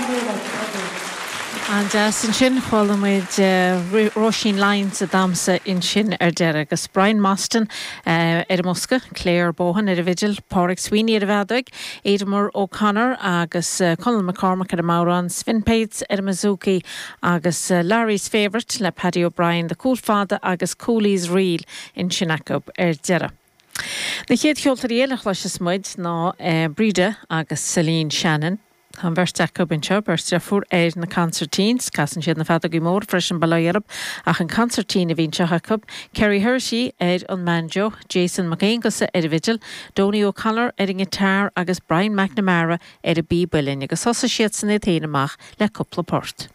Thank you very much. Thank you. An-deas ansin. Chuala muid Róisín Lyons ag damhsa ansin ar deireadh agus Brian Mostyn ar an mbosca, Claire Bohan ar an bhfidil, Pádraig Sweeney ar an bhfeadóig, Aidan O'Connor agus Conall McCormack ar an mbodhrán, Sven Pates ar an mbouzouki agus Larry's Favourite le Paddy O'Brien, The Cúl Fada agus Cooley's Reel ansin acu ar deireadh. Na chéad cheoltóirí eile a chloisfeas muid ná Breda agus Celine Shannon. Tá an bheirt acu anseo, beirt deirfiúr, ar na consairtíns. Casann siad na feadógaí móra freisin, bail ó Dhia orthu, ach an consairtín a bhí anseo acu. Kerry Herity ar an mbanjo, Jason Mac Aonghusa ar an bhfidil, Donie O'Connor ar an ngiotár agus Brian McNamara ar an bpíb uilleann agus thosaigh siadsan iad féin amach le cúpla port.